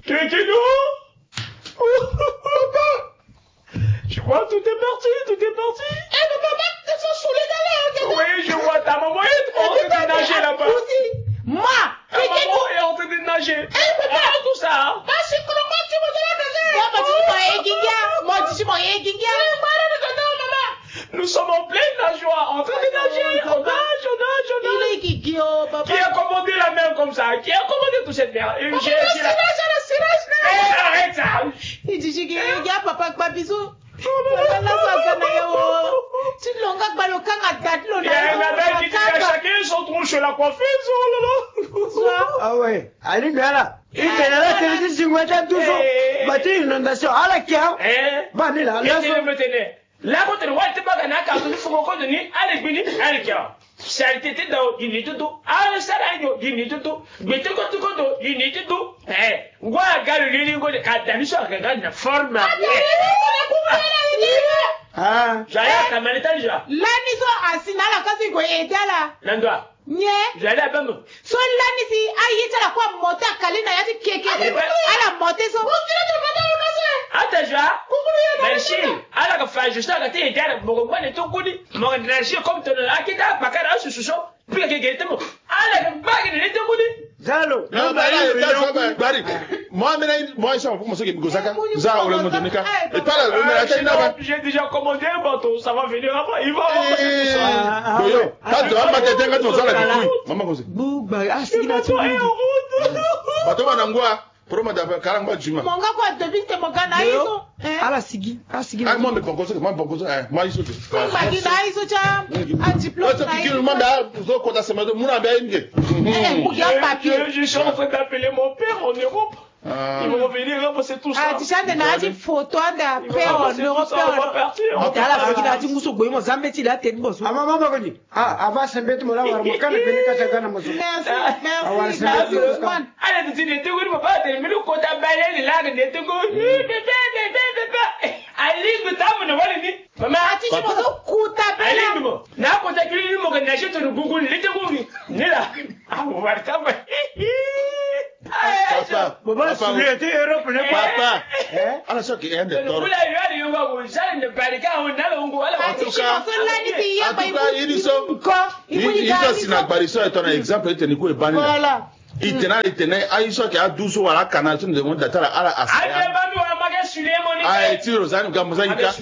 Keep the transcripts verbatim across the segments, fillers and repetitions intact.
Kéké, non. Papa. Je vois, tout est parti, tout est parti. Eh, mais papa, t'es sans saouler dans l'air. Oui, je vois ta maman est en train de nager là-bas. Moi, ta maman est en train de nager. Eh, papa. Ah, tout ça, hein. Moi, je suis chronique, tu me donnes à nager. Moi, moi, tu m'as éguillé. Moi, tu m'as éguillé. Eh, moi, là, dedans, maman. Nous sommes en pleine nageoire, en train de nager. On nage, on nage, on nage. Il est idiot, papa. Qui a commandé la mer comme ça? Qui a commandé toute cette mer? Papa, j'ai, j'ai la cirage, la cirage, là. Eh, arrête ça. Il dit, j'ai gagné, papa, pas bisous. Papa, là, ça, ça, là, oh. Tu l'as, on va pas le camp à date, là, là, là, là, là, là, là, là. Chacun son trou chez la coiffeuse, oh là là. Ah ouais. Allez, mais là. Itene la tene ti zingo ete dusu. Eh. Ba ti inondation ala kia. Eh. Ba ni la. Itene me tene. La ko tene wali ti baka na ka ti fungo kondo ni ala gbi ni ala kia. Charité ti dao gi ni ti du. Ala sara yo gi ni ti du. Gbe ti ko ti kondo gi ni ti du. Eh. Ngua aga lo lili ngode ka da ni so aga ga na forme. Ah. Jaya ka mani tali ja. Lani so asi na ala kasi ko ede ala. Na ndo a. Nye. Jali abemo. So lani si aye ti ala kue amote akali na ya ti keke. Ala mote so. Ata ja. Merci. Ala ka fa juste ala ka ti ede ala mo ko ngba na ti kuni. Mo ka na si comme tono akita bakara asusu so. Puis ke gere ti mo. Ala ka ngba ke na ti kuni. Zalo. Non, mais là, il est dans son bain. Bari. Moi, maintenant, moi, je suis en train de me dire que Zaka. Za, on le montre, Nika. Et pas là, on a atteint là-bas. J'ai déjà commandé un bateau, ça va venir après. Il va avoir ce soir. Boyo. Ka to amba tete nga to sala kikui. Mama koze. Bu ba a sigi na tu. Bato ba na ngwa. Promo da kala ngwa juma. Monga kwa dobi te monga na iso. Ala sigi, ala sigi. Ay mo me bongoso, mo bongoso. Ay mo iso. Ba di na iso cha. A diplôme na iso. Kilo manda zo kota sema do muna be inge. Eh, pour ya papier. Je, je suis en train d'appeler mon père en Europe. Ah. Ils vont venir rembourser tout ça. Ah, déjà, on a dit photo, on a peur, on aura peur. Ala sigi na ti nguso gboyi mo zambe ti la teni boso. Ah, maman, maman, koni. Ah, avant sembe ti mo la wara mo kana peni kata gana mo so. Merci, merci, merci, Ousmane. Ala ti ti ne te wiri papa te mi lu kota bale ni la ne te ko. Bebe, bebe, bebe. Ali du tamu na wali ni. Mama. Ati ti mo so kuta bale. Ali du mo. Na kota kili ni mo ke na jeto ni gugu ni le te ko ni. Ni la. Ah, mo wari kamba. Papa, papa, papa. Ala so ke ende toro. En tout cas, en tout cas, iri so, iri so si na gbari so e tona exemple ete ni ku e bani na. Voilà. Itena, itena, ayi so ke adu so wala kana so ni de mo datala ala asaya. Aye ti rozani gambo za ika.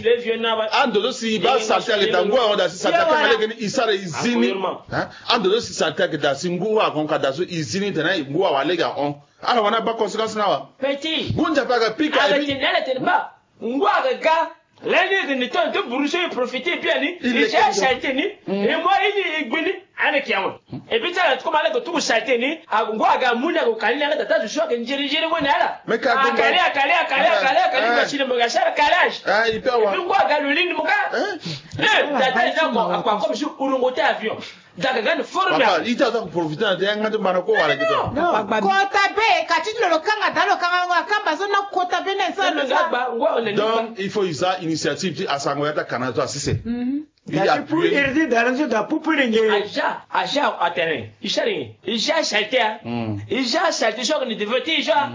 Ando so si ba salté ake da ngua, da si salté ake da lege ni isara izini. Hein? Ando so si salté ake da si ngua kon ka da so izini tena ngua wa lege on. Ala wana ba conséquence na wa. Petit. Gunja pa ga pika. Ala ebi tene, ala tene ba. Ngua ga ga. Lani ga ni ton to buru so profiter bien ni. Il est déjà charité ni. Mm. Et moi, il est gbini. Ana kiawa. Et puis ça, comme ala ko tout charité ni. A ngua ga muna ko kali na tata so ke njeri njeri mo na ala. Mais ka akali, akali, akali, akali, akali, ah, machine mo ga sara calage. Ah, il peut avoir. Et puis ngua ga lulini mo ga. Hein? Eh, tata na ko akwa comme si urungo ta avion. Daga gani forme. Papa, ita ta profiter na te nga te bana ko wala kito. Non. Kota be, ka ti lo lo kanga da lo kanga ngo akamba so na kota be na sa lo sa. Donc il faut isa initiative ti asango ya ta kana to asise. Mhm. Il y a plus. Pour aider dans le jeu da pupulenge. Aja, aja atene. Ishari. Ija charité. Ija charité so ni devoti ija.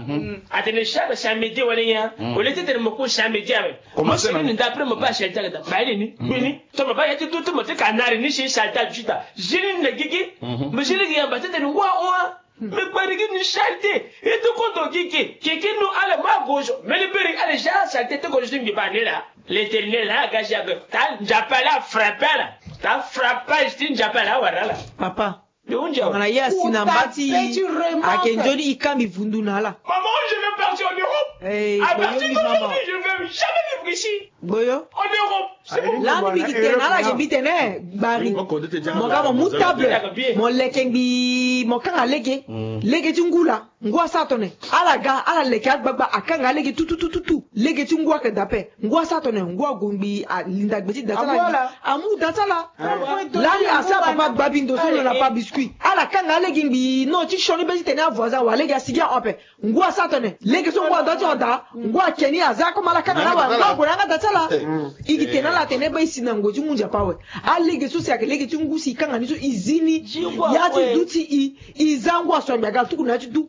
Atene sha ba sha medi wala ya. Ole te te mo ko sha medi awe. Comment ça? Ni d'après mo ba charité da. Ba ni ni. Bini. To mo ba ya ti duti mo ti kanari ni si charité juta. Zini na gigi. Mo zini gi yamba tete ni wa wa. Me kpari gi ni charité. E ti kondo gigi. Keke no ala ma gozo. Me ni beri ala ja charité ti gozo ti mbi ba ni la. L'Éternel aga jaga. Ta Nzapa la frappe la. Ta frappage ti Nzapa la wara la. Papa. Ngana ye asi na mba ti. Ake nzoni e ka mbi vundu na ala. Maman, je vais partir en Europe. Eh, à partir d'aujourd'hui, je ne vais jamais vivre ici. Boyo. En Europe, c'est bon. Lani mbi gi tene ala ge mbi tene gbari. Mo ga mo mu table. Mo leke ngbi mo kanga lege. Lege ti ngu la. Ngu asara tone. Ala ga ala leke agbagba akanga lege tututututu. Lege ti ngu ake dape. Ngu asara tone. Ngu agu ngbi alinda gbe ti da ti ala. Amu da ti ala. Lani asara papa gbabindo so lo na pa biscuit. Ala kanga lege ngbi no ti sioni be ti tene avoisin wa lege asigi ahon ape. Ngu asara tene. Lege so ngu ado ti hon da. Ngu ake ni aza comme ala kanga na wa ngu ague na yanga da ti ala. E gi tene ala tene ba e si na ngoi ti ngu Nzapa awe. Alege so si ake lege ti ngu si e kanga ni so e zi ni. Ya ti du ti e. E za ngu aso angbi aga tuku na ya ti du.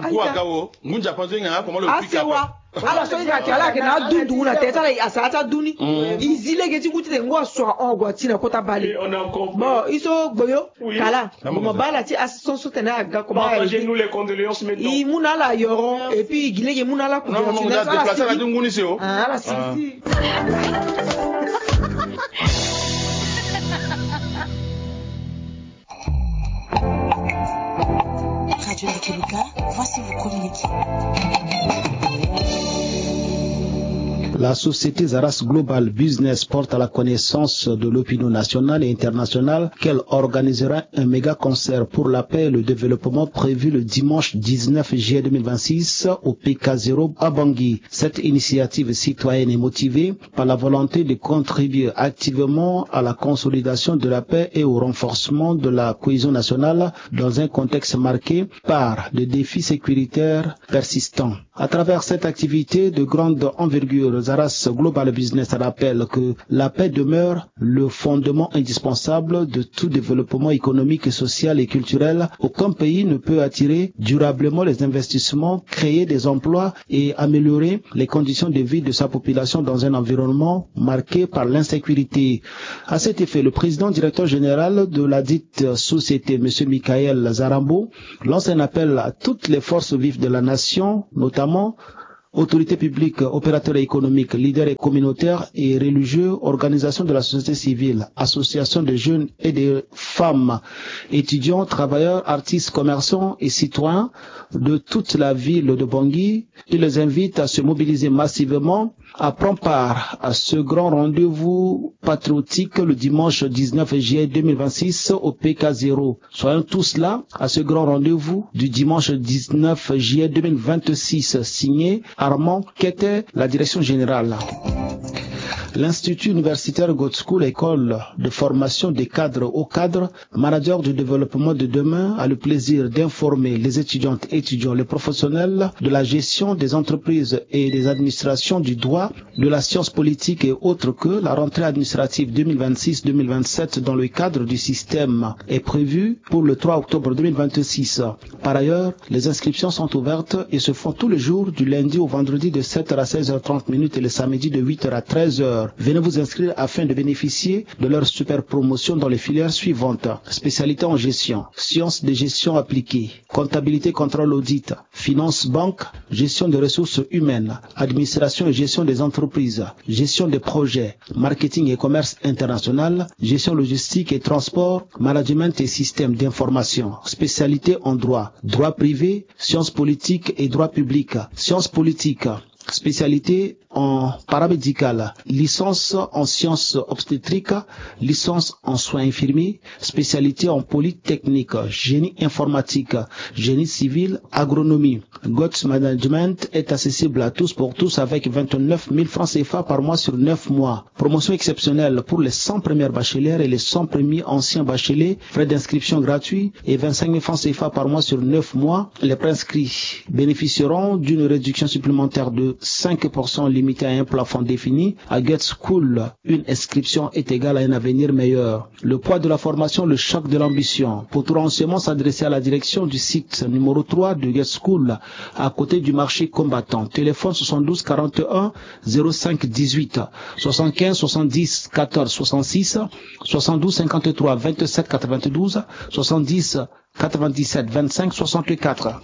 ngu aga o. Ngu nzapa nzoni nga comment le pick up. Asewa. Ala so i ga ti ala ayeke na adundu na tete ala asara ti aduni. I zi lege ti ngu ti tene ngu aso ahon ague ati na kota bale. Bon i so gboyo kala. Mo baa ala ti assistance so tene aga comment. I mu na ala yoro et puis i gi lege i mu na ala couverture. Ala sigi. Ala sigi. Radio Ndikirica, voici vos communiqués. La société Zaras Global Business porte à la connaissance de l'opinion nationale et internationale qu'elle organisera un méga concert pour la paix et le développement prévu le dimanche dix-neuf juillet deux mille vingt-six au P K zéro à Bangui. Cette initiative citoyenne est motivée par la volonté de contribuer activement à la consolidation de la paix et au renforcement de la cohésion nationale dans un contexte marqué par des défis sécuritaires persistants. À travers cette activité de grande envergure, Zaras Global Business rappelle que la paix demeure le fondement indispensable de tout développement économique, social et culturel. Aucun pays ne peut attirer durablement les investissements, créer des emplois et améliorer les conditions de vie de sa population dans un environnement marqué par l'insécurité. À cet effet, le président directeur général de la dite société, monsieur Michael Zarambo, lance un appel à toutes les forces vives de la nation, notamment autorités publiques, opérateurs économiques, leaders et communautaires et religieux, organisations de la société civile, associations de jeunes et de femmes, étudiants, travailleurs, artistes, commerçants et citoyens de toute la ville de Bangui. Il les invite à se mobiliser massivement, à prendre part à ce grand rendez-vous patriotique le dimanche dix-neuf juillet deux mille vingt-six au P K zéro. Soyons tous là à ce grand rendez-vous du dimanche dix-neuf juillet deux mille vingt-six. Signé Armand Kete, la direction générale. L'Institut universitaire Godschool, école de formation des cadres aux cadres, manager du développement de demain, a le plaisir d'informer les étudiantes, étudiants, les professionnels de la gestion des entreprises et des administrations, du droit, de la science politique et autres que la rentrée administrative deux mille vingt-six deux mille vingt-sept dans le cadre du système est prévue pour le trois octobre deux mille vingt-six. Par ailleurs, les inscriptions sont ouvertes et se font tous les jours du lundi au vendredi de sept heures à seize heures trente minutes et le samedi de huit heures à treize heures. Venez vous inscrire afin de bénéficier de leur super promotion dans les filières suivantes. Spécialité en gestion, sciences de gestion appliquée, comptabilité, contrôle, audit, finance, banque, gestion des ressources humaines, administration et gestion des entreprises, gestion des projets, marketing et commerce international, gestion logistique et transport, management et système d'information. Spécialité en droit, droit privé, sciences politiques et droit public. Sciences politiques, spécialité en paramédical, licence en sciences obstétriques, licence en soins infirmiers, spécialité en polytechnique, génie informatique, génie civil, agronomie. Gods Management est accessible à tous pour tous avec vingt-neuf mille francs C F A par mois sur neuf mois. Promotion exceptionnelle pour les cent premières bachelières et les cent premiers anciens bacheliers. Frais d'inscription gratuits et vingt-cinq mille francs C F A par mois sur neuf mois. Les préinscrits bénéficieront d'une réduction supplémentaire de cinq pour cent limitée à un plafond défini. À Gods School, une inscription est égale à un avenir meilleur. Le poids de la formation, le choc de l'ambition. Pour tout renseignement, s'adresser à la direction du site numéro trois de Gods School, à côté du marché combattant. Téléphone soixante-douze quarante et un zéro cinq dix-huit, soixante-quinze soixante-dix quatorze soixante-six, soixante-douze cinquante-trois vingt-sept quatre-vingt-douze, soixante-dix quatre-vingt-dix-sept vingt-cinq soixante-quatre.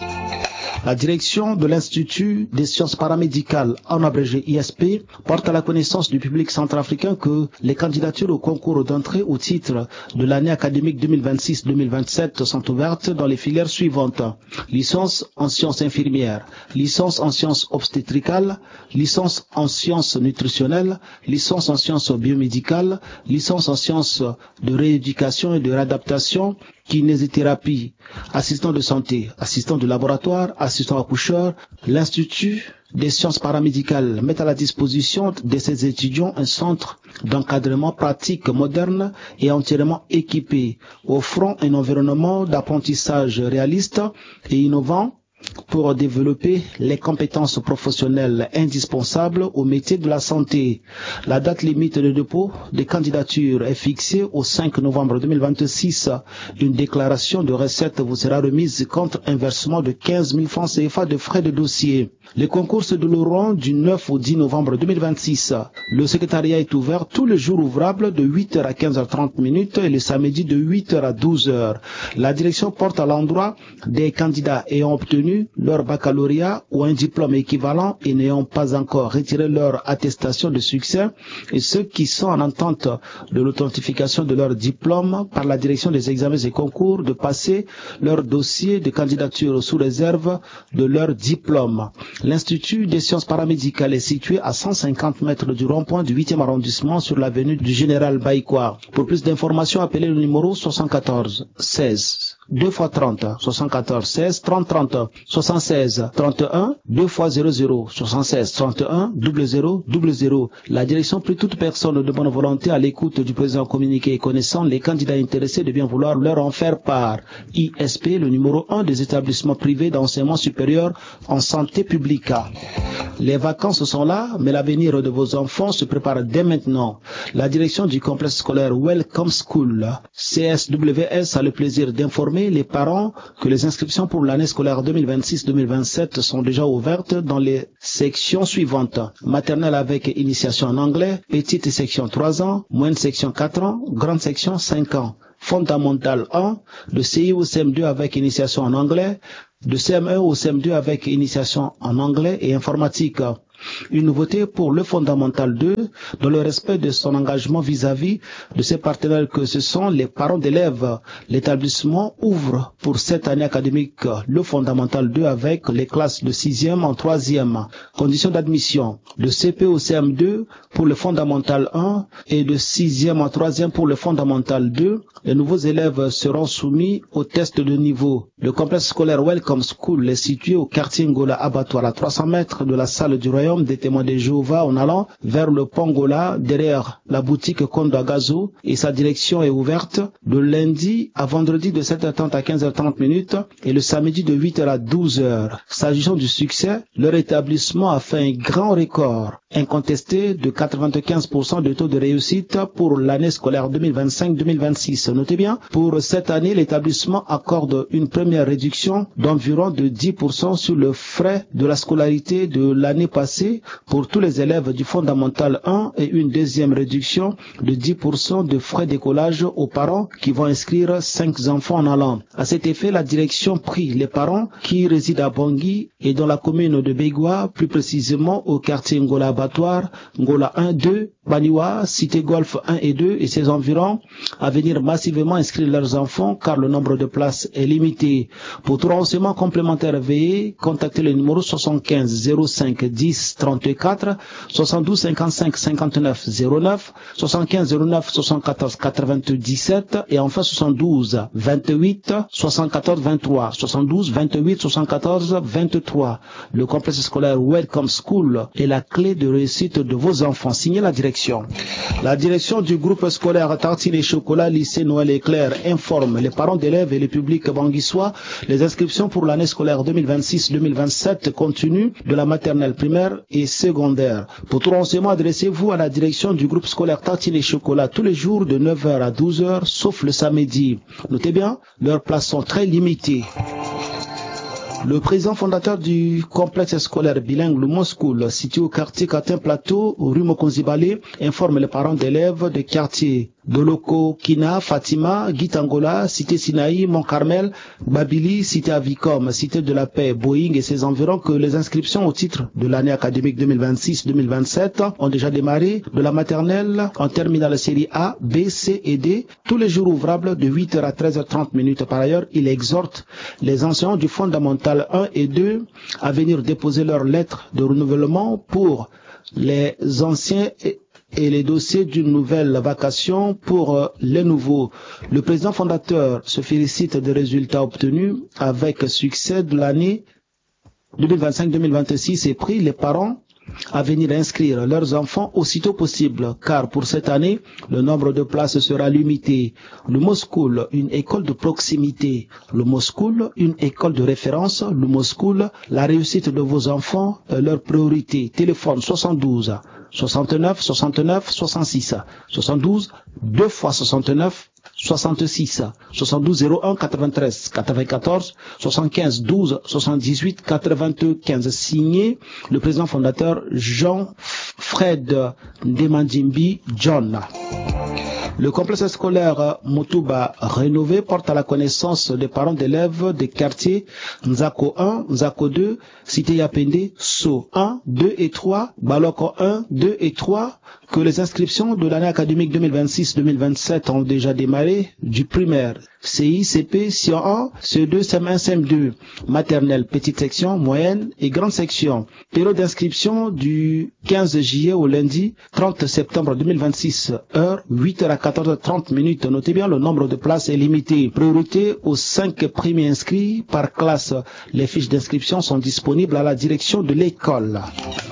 La direction de l'Institut des sciences paramédicales, en abrégé I S P, porte à la connaissance du public centrafricain que les candidatures au concours d'entrée au titre de l'année académique deux mille vingt-six deux mille vingt-sept sont ouvertes dans les filières suivantes: licence en sciences infirmières, licence en sciences obstétricales, licence en sciences nutritionnelles, licence en sciences biomédicales, licence en sciences de rééducation et de réadaptation, kinésithérapie, assistant de santé, assistant de laboratoire, assistant accoucheur. L'Institut des sciences paramédicales met à la disposition de ses étudiants un centre d'encadrement pratique moderne et entièrement équipé, offrant un environnement d'apprentissage réaliste et innovant pour développer les compétences professionnelles indispensables au métier de la santé. La date limite de dépôt des candidatures est fixée au cinq novembre deux mille vingt-six. Une déclaration de recettes vous sera remise contre un versement de quinze mille francs C F A de frais de dossier. Les concours se dérouleront du neuf au dix novembre deux mille vingt-six. Le secrétariat est ouvert tous les jours ouvrables de huit heures à quinze heures trente minutes et le samedi de huit heures à douze heures. La direction porte à l'endroit des candidats ayant obtenu leur baccalauréat ou un diplôme équivalent et n'ayant pas encore retiré leur attestation de succès, et ceux qui sont en attente de l'authentification de leur diplôme par la direction des examens et concours, de passer leur dossier de candidature sous réserve de leur diplôme. L'Institut des sciences paramédicales est situé à cent cinquante mètres du rond-point du huitième arrondissement sur l'avenue du Général Baïkoa. Pour plus d'informations, appelez le numéro soixante-quatorze seize, deux fois trente, soixante-quatorze seize trente trente, soixante-seize trente et un, deux fois zéro zéro, soixante-seize trente et un double zéro double zéro. La direction prie toute personne de bonne volonté à l'écoute du présent communiqué et connaissant les candidats intéressés de bien vouloir leur en faire part. I S P, le numéro un des établissements privés d'enseignement supérieur en santé publique. Les vacances sont là, mais l'avenir de vos enfants se prépare dès maintenant. La direction du complexe scolaire Welcome School, C S W S, a le plaisir d'informer les parents que les inscriptions pour l'année scolaire deux mille vingt-six deux mille vingt-sept sont déjà ouvertes dans les sections suivantes: maternelle avec initiation en anglais, petite section trois ans, moyenne section quatre ans, grande section cinq ans, fondamentale un, de C I au C M deux avec initiation en anglais, de C M un au C M deux avec initiation en anglais et informatique. Une nouveauté pour le fondamental deux, dans le respect de son engagement vis-à-vis de ses partenaires que ce sont les parents d'élèves. L'établissement ouvre pour cette année académique le fondamental deux avec les classes de sixième en troisième. Conditions d'admission: de C P au C M deux pour le fondamental un et de sixième en troisième pour le fondamental deux. Les nouveaux élèves seront soumis au test de niveau. Le complexe scolaire Welcome School est situé au quartier Ngola Abattoir, à trois cents mètres de la salle du royaume des Témoins de Jéhovah, en allant vers le pont Ngola, derrière la boutique Kondo à Gazo, et sa direction est ouverte de lundi à vendredi de sept heures trente à quinze heures trente minutes et le samedi de huit heures à douze heures. S'agissant du succès, leur établissement a fait un grand record incontesté de quatre-vingt-quinze pour cent de taux de réussite pour l'année scolaire deux mille vingt-cinq deux mille vingt-six. Notez bien, pour cette année, l'établissement accorde une première réduction d'environ de dix pour cent sur le frais de la scolarité de l'année passée pour tous les élèves du fondamental un et une deuxième réduction de dix pour cent de frais d'écolage aux parents qui vont inscrire cinq enfants en allant. À cet effet, la direction prie les parents qui résident à Bangui et dans la commune de Begoua, plus précisément au quartier Ngola Abattoir, Ngola un, deux, Baniwa, Cité Golf un et deux et ses environs, à venir massivement inscrire leurs enfants car le nombre de places est limité. Pour tout renseignement complémentaire, veuillez contacter le numéro soixante-quinze zéro cinq dix trente-quatre, soixante-douze cinquante-cinq cinquante-neuf zéro neuf, soixante-quinze zéro neuf soixante-quatorze quatre-vingt-dix-sept et enfin soixante-douze vingt-huit soixante-quatorze vingt-trois, soixante-douze vingt-huit soixante-quatorze vingt-trois. Le complexe scolaire Welcome School est la clé de réussite de vos enfants. Signez la direction. La direction du groupe scolaire Tartine et Chocolat, lycée Noël Éclair, informe les parents d'élèves et le public banguissois. Les inscriptions pour l'année scolaire deux mille vingt-six deux mille vingt-sept continuent de la maternelle, primaire et secondaire. Pour tout renseignement, adressez-vous à la direction du groupe scolaire Tartine et Chocolat tous les jours de neuf heures à douze heures, sauf le samedi. Notez bien, leurs places sont très limitées. Le président fondateur du complexe scolaire bilingue Lumo School, situé au quartier Catin Plateau, rue Mokonzi Bale, informe les parents d'élèves de quartier Doloko, Kina, Fatima, Gitangola, cité Sinaï, Mont Carmel, Babili, cité Avicom, cité de la Paix, Boeing et ses environs que les inscriptions au titre de l'année académique deux mille vingt-six deux mille vingt-sept ont déjà démarré, de la maternelle en terminale série A, B, C et D, tous les jours ouvrables de huit heures à treize heures trente minutes. Par ailleurs, il exhorte les enseignants du fondamental un et deux à venir déposer leur lettre de renouvellement pour les anciens et, et les dossiers d'une nouvelle vacation pour, euh, les nouveaux. Le président fondateur se félicite des résultats obtenus avec succès de l'année deux mille vingt-cinq deux mille vingt-six et prie les parents à venir inscrire leurs enfants aussitôt possible, car pour cette année, le nombre de places sera limité. Lumo School, une école de proximité. Lumo School, une école de référence. Lumo School, la réussite de vos enfants est leur priorité. Téléphone soixante-douze soixante-neuf soixante-neuf soixante-six, soixante-douze deux fois soixante-neuf soixante-six, soixante-douze zéro un quatre-vingt-treize quatre-vingt-quatorze, soixante-quinze douze soixante-dix-huit quatre-vingt-quinze. Signé le président fondateur Jean-Fred Ndemandjimbi John. Le complexe scolaire Motuba rénové porte à la connaissance des parents d'élèves des quartiers Nzako un, Nzako deux, Cité Yapende, So un, deux et trois, Baloko un, deux et trois, que les inscriptions de l'année académique deux mille vingt-six deux mille vingt-sept ont déjà démarré, du primaire, C I, C P, Sciences un, C E deux, C M un, C M deux, maternelle, petite section, moyenne et grande section. Période d'inscription du quinze juillet au lundi trente septembre deux mille vingt-six, heure huit heures à quatorze heures trente minutes. Notez bien, le nombre de places est limité. Priorité aux cinq premiers inscrits par classe. Les fiches d'inscription sont disponibles à la direction de l'école.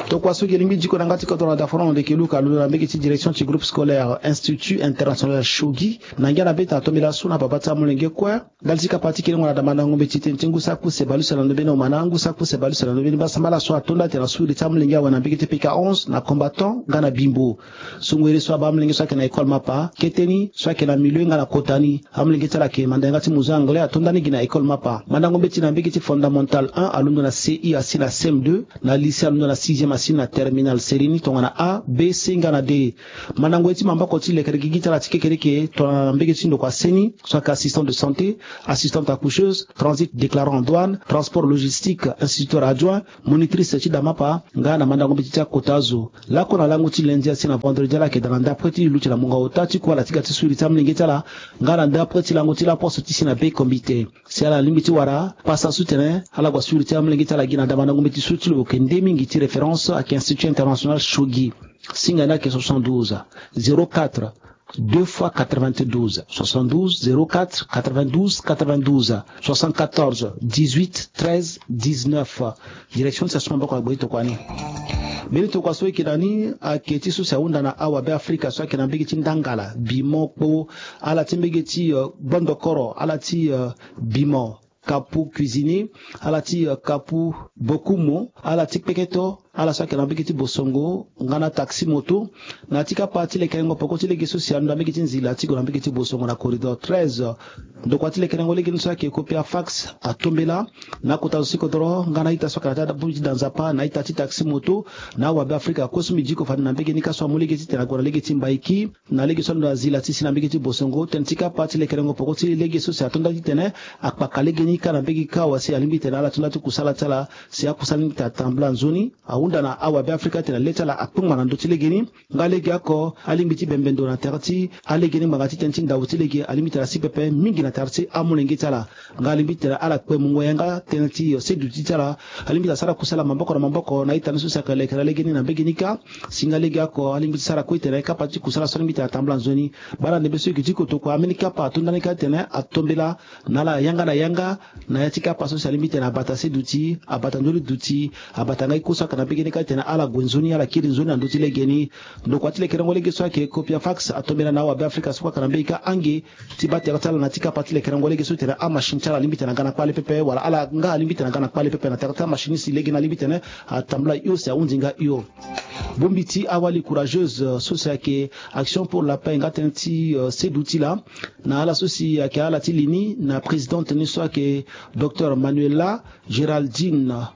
Tokua so gi lingbi diko na nga ti kodro na dafono ndeke luka lulu na mbege ti direction ti groupe scolaire Institut International Shogi. Na ngia na beta atombela so na baba ti amolenge kue. Ndali ti kapa ti kelengo na damandango mbeti tene ti ngu saki use bale use na ndobeni omana, ngu saki use bale use na ndobeni basambala so atonda tena suri ti amolenge awe na mbege ti pika onze na combattant nga na bimbo. Sungwere so abaa amolenge so ayeke na école mapa, kete ni so ayeke na milieu nga na kota ni. Amolenge ti ala ayeke manda yanga ti muzu anglais atonda ni gi na école mapa. Mandango mbeti na mbege ti fondamental un alondo na C I asi na C M deux, na lycée alondo na sixième asi na terminale serie ni tongana A, B, C nga na D. Mandango ye ti maboko ti lekere gigi ti ala ti kekereke tongana na mbege ti ndokua seni so ayeke assistant de santé, assistante accoucheuse, transit déclarant en douane, transport logistique, instituteur adjoint, monitrice ti damapa nga na mandango mbeti ti akota azo. Lakue na lango ti lundi asi na vendredi ala yeke daa na ndapre ti luti na munga ota ti ku ala ti ga ti suri ti amolenge ti ala nga na ndapre ti lango ti laposte ti si na be combite. Si ala lingbi ti wara pasa so tene ala gua suri ti amolenge ti ala gi na damandango mbeti so ti lo yeke nde mingi ti référence ayeke Institut International Shogi. Singa ni ayeke soixante-douze zéro quatre deux fois quatre-vingt-douze, soixante-douze zéro quatre quatre-vingt-douze quatre-vingt-douze, soixante-quatorze dix-huit treize dix-neuf. Direction ti station maboko agbo ti tokua ni. Mbeni tokua so e yeke na ni ayeke ti so si ahunda na awabe afrika so ayeke na mbege ti ndangala bimo kpo, ala ti mbege ti, euh, gbondokoro, ala ti, euh, bimo kapu cuisinier, ala ti, euh, kapu bokumo, ala ti kpeketo, ala so ayeke na mbege ti bosongo nga na taxi moto. Na ya ti kapa ti lekerengo peko ti lege so si alondo na mbege ti nzila ti gue na mbege ti bosongo na corridor treize. Ndokua ti lekerengo legeni so ayeke Copia Fax atombela na akota zo ti kodoro nga na a-ita so ayeke na ya ti abuti da nzapa na a-ita ti taxi moto na awabe afrika kue so mbi diko fade na mbege ni ka so amu lege titene ague na lege ti Mbaiki. Na lege so alondo na zila ti si na mbege ti bosongo, tënë ti kapa ti lekerengo peko ti lege so si atonda titene akpaka lege ni ka na mbege ka wa si alingbi titene ala tonda ti kusala ti ala si akusala ni tene atambula nzoni. Ahunda na awabe afrika titene le ti ala akpengba na ndö ti lege ni. Nga lege oko alingbi ti bembe ndo na tere ti alege ni ngbanga ti tënë ti ndau ti lege alingbi titene asi pepe mingi na tere ti amolenge ti ala. Nga alingbi titene ala kpe mungo yanga tënë ti, euh, seduti ti ala. Alingbi titene asara kusala maboko na maboko na a-ita ni so si ayeke leke na lege ni na mbege ni ka. Si nga lege oko alingbi ti sara kue titene kapa ti kusala so alingbi titene atambula nzoni. Baa na ndembe so e yeke ti kotokua, ambeni kapa atonda ni ka titene atombela na ala yanga na yanga na ya ti kapa so si alingbi titene abata seduti, abata ndoli duti, abata nga iko so ayeke na Legeni ka tene ala gue nzoni, ala kiri nzoni na ndö ti legeni. Ndokua ti lekerengo lege so ayeke Copiafax atombela na awabe afrika so kaka na mbege ka ange ti baa tere ti ala na ti kapa ti lekerengo lege so tene amachine ti ala alingbi tene aga na kpale pepe, wala ala nga alingbi tene aga na kpale pepe na tere ti amachine si legeni alingbi tene atambula hio si ahunzi nga hio. Bongbi ti awali courageuse so si ayeke Action pour la Paix nga tënë ti seduti laa, na ala so si ayeke ala ti li ni na présidente ni so ayeke Docteur Manuela Géraldine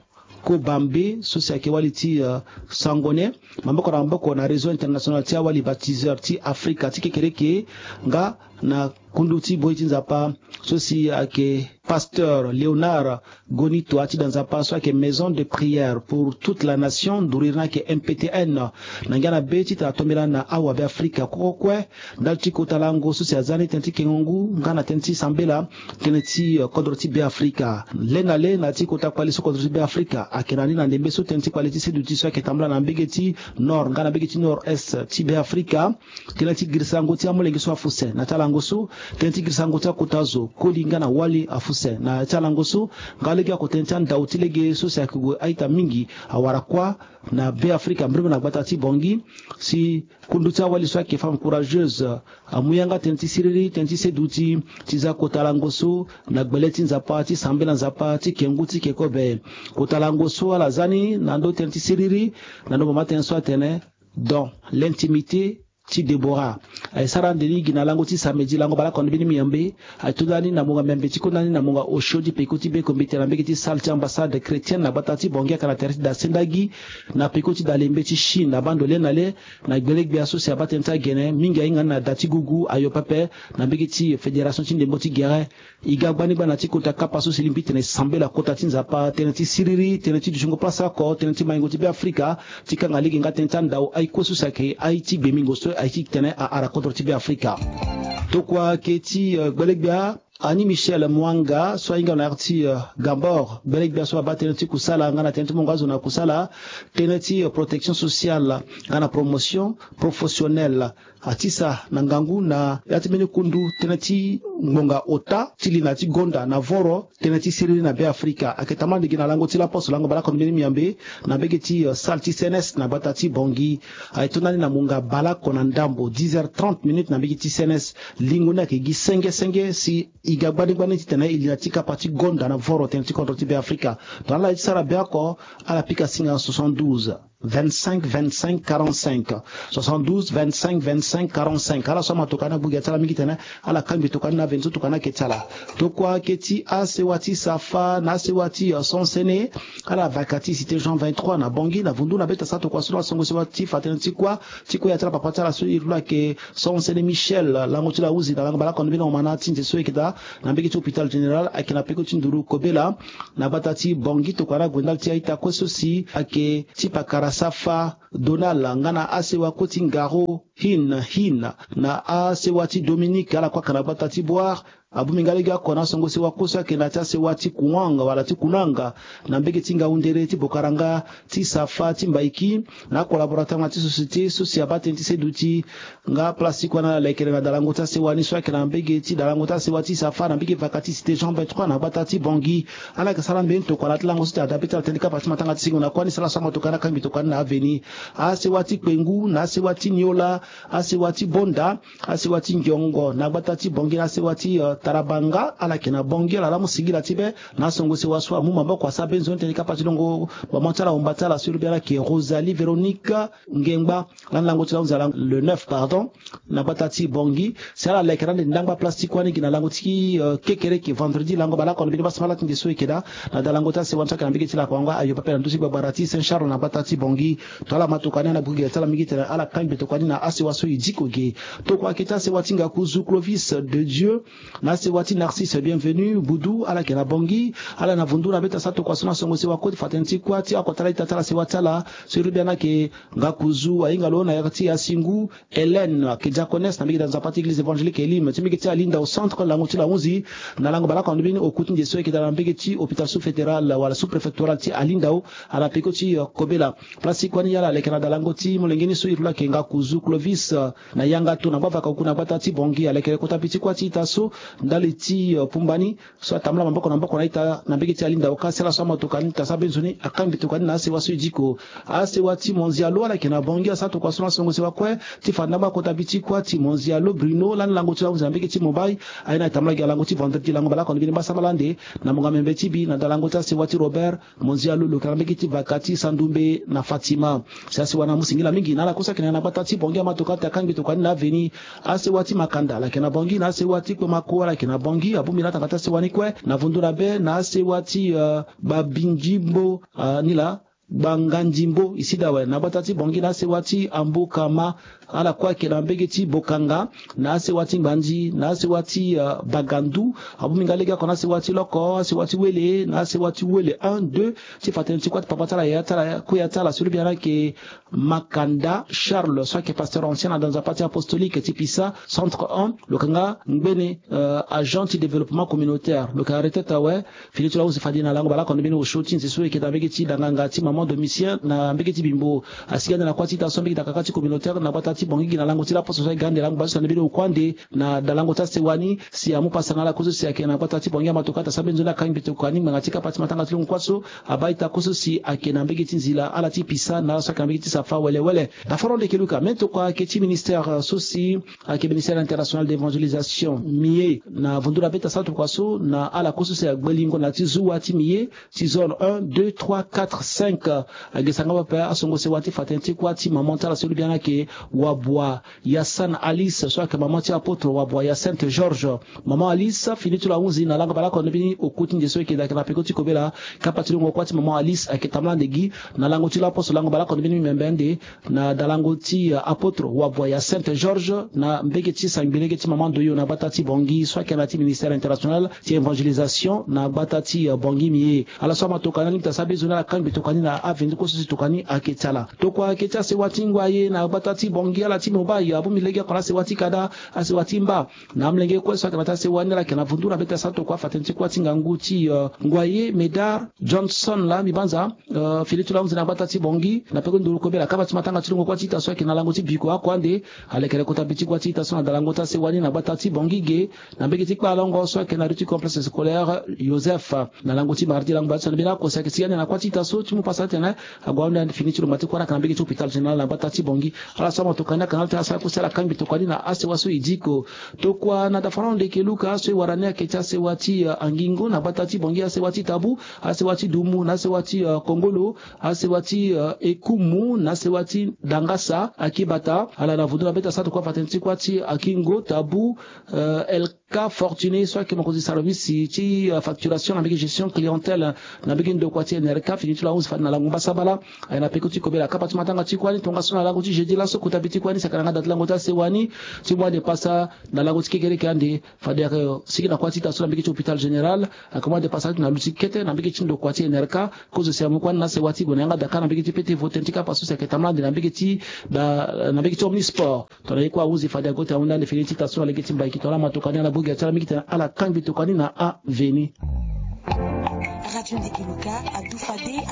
Kobambe so si ayeke wali ti Sangone, maboko na maboko na réseau international ti awali baptiseur ti Afrika ti kekereke, nga na kundu ti boi ti Nzapa so si ayeke Pasteur Léonard Gonitoa ti da Nzapa so ayeke Maison de Prière pour toute la Nation, nduru iri ni ayeke M P T N. Na ngia na be ti tena tombela na awabe afrika kue kue ndali ti kota lango so si aza ni tënë ti kengo ngu nga na tënë ti sambela tënë ti kodro ti Beafrika. Le na le na ya ti kota kpale so kodro ti Beafrika ayeke na ni na ndembe so tënë ti kpale ti seduti so ayeke tambula na mbege ti nord nga na mbege ti nord est ti Beafrika. Tënë ti girisango ti amolenge so afu se na ti alango so. Tënë ti girisango ti akota zo koli nga na wali afu se na ya ti alango so. Nga lege oko tënë ti andau ti lege so si ayeke gue a-ita mingi awara kuâ na Beafrika mbrimbri na gbata ti Bangui. Si kundu ti awali so ayeke Femme Courageuse amu yanga tënë ti siriri tënë ti seduti ti za kota lango so na gbele ti Nzapa ti sambela Nzapa ti ke ngu ti ke kobe. Kota lango so ala za ni na ndö tënë ti siriri na ndö mama tënë so atene dans l'intimité ti Déborah. Aye sara ande ni gi na lango ti samedi lango baleoko na mbeni miambe. Aye to ndani na munga miambe ti konda ni na munga osio ti peko ti be kombite na mbege ti salle ti ambassade chrétienne na gbata ti Bangui ayaka na tere ti da sendagi na peko ti da lembe ti Chine abaa ndo le na le. Na gbele gbia so si abaa tënë ti agene mingi ahinga ni na da ti gugu ayo pepe na mbege ti fédération ti ndembo ti gere. E ga gbani gbani na ti kota kapa so si lingbi titene e sambela kota ti Nzapa tënë ti siriri tënë ti dutingo place oko tënë ti maingo ti Beafrika ti kanga lege nga tënë ti andau aye kue so si ayeke aye ti gbemingo so aye ti tene a ara kodro ti Beafrika. Tokua ayeke ti gbelegbia Annie Michel Mwanga so ahinga na yâ ti Gambor, gbelegbia so abaa tënë ti kusala nga na tënë ti mungo azo na kusala, tënë ti protection sociale nga na promotion professionnelle. Atisa na ngangu na yâ ti mbeni kundu tënë ti ngbonga ota ti li na yâ ti gonda na voro tënë ti siriri na Beafrika. Ayeke tambula ndege na lango ti laposo lango baleoko na mbeni miambe na mbege ti salle ti C N S na gbata ti Bangui. Aye to ndani na munga baleoko na ndambo dix heures trente minutes na mbege ti C N S. Lingo ni ayeke gi senge senge si e ga gbani gbani titene e li na ti kapa ti gonda na voro tënë ti kodro ti Beafrika. Tongana ala ye ti sara be oko, ala pika singa na soixante-douze, vingt-cinq, vingt-cinq, quarante-cinq. Soixante-douze, vingt-cinq, vingt-cinq, quarante-cinq. Ala so ama tokua ni agbu gi na ti ala mingi titene ala kangbi tokua ni na aveni so tokua ni ayeke ti ala. Tokua ayeke ti asewa ti safa na asewa ti Sonsene. Ala vaka ti cité Jean vingt-trois na Bangui na vundu na beta sa tokua so na songo sewa ti fa tënë ti kuâ ti kue ya ti ala papa ti ala so iri lo ayeke Sonsene Michel, lango ti lo ahunzi na lango baleoko na mbeni homa na ti nze so e yeke daa na mbege ti hôpital général ayeke na peko ti nduru kobela. Na gbata ti Bangui tokua ni ague ndali ti a-ita kue so si ayeke ti pakara safa Donald nga na asewa kue ti ngaro Hin Hin na asewa ti Dominique ala kue ayeke na gbata ti Boire. Abongbi nga lege oko na asongo sewa kue so ayeke na yâ ti asewa ti Kuang wala ti Kunanga na mbege ti Ngaoundéré ti bokara nga ti safa ti Mbaïki na acollaborateur na ti société so si abaa tënë ti seduti. Nga place ti kua na ala lekere na dalango ti asewa ni so ayeke na mbege ti dalango ti asewa ti safa na mbege vaka ti cité Jean vingt-trois na gbata ti Bangui. Ala yeke sara mbeni tokua na yâ ti lango so ti ada be ti ala tënë ti kapa ti matanga ti singo na kuâ ni si ala so ama tokua ni akangbi tokua ni na aveni. Asewa ti kpengu na asewa ti niola, asewa ti bonda, asewa ti ngiongo na gbata ti Bangui na asewa ti tarabanga ala yeke na Bangui ala lamu singila ti be. Na asongo sewa so amu maboko asara be nzoni tënë ti kapa ti longo boma ti ala wumba ti ala so iri be ala yeke Rosalie Véronique Ngengba. Lani lango ti lo ahunzi ala le neuf pardon na gbata ti Bangui. Si ala leke na ande ndangba place ti kuâ ni gi na lango ti kekereke vendredi lango baleoko na mbeni basa ma ala ti nde so e yeke daa na dalango ti asewa ni so ayeke na mbege ti lakuango ayo pepe na ndö ti gbagbara ti Saint Charles na gbata ti Bangui. Tongana ala ma tokua ni ala gbu gi na ti ala mingi titene ala kangbi tokua ni na asewa so e diko ge. Tokua ayeke ti asewa ti ngakuzu Clovis de Dieu na asewa ti Narcisse Bienvenu Boudou ala yeke na Bangui. Ala na vundu na beta sa tokua so na songo sewa kue ti fa tënë ti kuâ ti oko ti ala ita ti ala sewa ti ala so iri be ni ayeke ngakuzu ahinga lo na yâ ti asingu Hélène ayeke diaconesse na mbege ti da Nzapa ti église évangélique Elim ti mbege ti Alinda au centre lango ti lo ahunzi na lango baleoko na ndö mbeni oku ti nze so e yeke daa na mbege ti hôpital sous fédéral wala sous préfectoral ti Alindao. Ala peko ti kobela. Place ti kuâ ni ala leke na dalango ti molenge ni so iri lo ayeke ngakuzu Clovis na yanga to na gbavaka oku na gbata ti Bangui alekere kota mbi ti kuâ ti ita so. ndali ti pumba ni, so atambula maboko na maboko na ita na mbege ti alinda oka sela so amotoka ni tasa be nzoni akangbi toka ni na asewa so e diko. Asewa ti monzi alo ala yeke na bongi asara tokua so na songo sewa kue ti fa ndambo akota bi ti kuâ ti monzi alo bruno lani lango ti lango na mbege ti mobai. Aye na etambula gi na lango ti vendredi lango baleoko na mbeni mbasambala ande na monga membe ti bi na dalango ti asewa ti robert. Monzi alo lo yeke na mbege ti vaka ti sandumbe na fatima. Si asewa ni amu singila mingi na ala kue so ayeke na gbata ti bongi amatoka ate akangbi toka ni na aveni. Asewa ti makanda ala yeke na bongi na asewa ti kpemako ala yeke na bongi abongbi na atanga ti asewa ni kue na vundu na be na asewa ti babindimbo, ni laa gbangandimbo isida awe na gbata ti bongi na asewa ti ambokama. Ala kue ayeke na mbege ti bokanga na asewa ti ngbandi na asewa ti bagandu. Abongbi nga lege oko na asewa ti loko asewa ti wele na asewa ti wele un deux. Ti fa tënë ti kuâ ti papa ti ala yaya ti ala kuya ti ala so lobi ana ayeke makanda charles so ayeke pasteur ancien na da nzapa ti apostolique ti pisa centre un. Lo yeke nga ngbene agent ti développement communautaire lo yeke na retraite awe. Fini ti lo ahunzi fade na lango baleoko na mbeni osio ti nze so e yeke na mbege ti danganga ti maman domitien na mbege ti bimbo. Asigi ande na kuâ ti ita so mbege dakaka ti communautaire na gbata ti bongi gi na lango ti laposo so ayeke ande lango baleoko na mbeni okua ande na dalango ti asewa ni. Si amu pasa na ala kue so si ayeke na gbata ti bongi amatoka ate asara mbeni nzoni akangbi tokua ni ngbanga ti kapa ti matanga ti longo kuâ so. Abaa ita kue so si ayeke na mbege ti nzila ala ti pisa na ala so ayeke na mbege ti safa wele wele. Dafaron de keluka me tokua ayeke ti ministère so si ayeke ministère international d'évangélisation mie na vundu na be ti asara tokua so na ala kue so si agbe lingo na ti zuwa ti mie ti zone un deux trois quatre cinq. Ayeke sanga pepe asongo sewa ti fa tënë ti kuâ ti maman ti ala so lobiana ayeke wabua yasan alice so ayeke maman ti apôtre wabua ya sainte georges. Maman alice fini ti lo ahunzi na lango baleoko na mbeni oku ti nze so e yeke daa ayeke na peko ti kobela kapa ti longo kuâ ti maman alice ayeke tambula ande gi na lango ti laposo lango baleoko na mbeni mimembe ande na dalango ti apôtre wabua ya sainte georges na mbege ti sangbi lege ti maman doyo na gbata ti bongi so ayeke na ti ministère international ti évangélisation na gbata ti bongi mie. Ala so amatoka ni alingbi ti asara be zo ni ala kangbi toka ni na aveni kue so si toka ni ayeke ti ala. Tokua ayeke ti asewa ti ngua ye na gbata ti bongi ala ti mobai abongbi lege oko na asewa ti kada asewa ti mba. Na amolenge kue so ayeke na ti asewa ni ala yeke na vundu na be ti asara tokua afa tënë ti kuâ ti ngangu ti ngua ye medard johnson laa mbi banza. Fini ti lo ahunzi na gbata ti bongi na peko nduru kobela kapa ti matanga ti longo kuâ ti ita so ayeke na lango ti biko ako ande. Alekere kota bi ti kuâ ti ita so na dalango ti asewa ni na gbata ti bongi ge na mbege ti kpalongo so ayeke na rue ti complexe scolaire joseph. Na lango ti mardi lango baleoko na mbeni ako si ayeke sigi ande na kuâ ti ita so ti mu pasa atene ague ahunda fini ti lo ma ti kuâ ni ayeke na mbege ti hôpital général na gbata ti bongi. Ala so amatoka ni ayeke na ala ti asara kue si ala kangbi tokua ni na asewa so e diko. Tokua na dafaron de keluka so e wara ni ayeke ti asewa ti angingo na gbata ti bongi asewa ti tabu asewa ti dumu na asewa ti kongolo asewa ti ekumu na asewa ti dangasa akibata ala na vundu na be ti asara tokua afa tënë ti kuâ ti akingo tabu. Elka fortuné so ayeke mokonzi service ti facturation na mbege gestion clientèle na mbege ndokua ti nrk fini ti lo ahunzi fade na lango mbasabala. Aye na peko ti kobela kapa ti matanga ti kuâ ni tongaso na lango ti jeudi laso kota bi ti kuâ ni si ayeke na yanga da ti lango ti asewa ni ti mu ande pasa na lango ti kekereke ande. Fade ayeke sigi na kuâ ti ita so na mbege ti hôpital général. Ayeke mu ande pasa ti na luti kete na mbege ti ndokua ti nrk kozo si amu kuâ ni na asewa ti gue na yanga da kâ na mbege ti pete vo tënë ti kapa so si ayeke tambula ande na mbege ti omnisport. Tongana ye kue ahunzi fade ague ti ahunda ande fini ti ita so na lege ti mbaiki tongana amatoka ni ala gbu gi na ti ala mingi tene ala kangbi toka ni na aveni. Radio Ndeke Luka adu fade.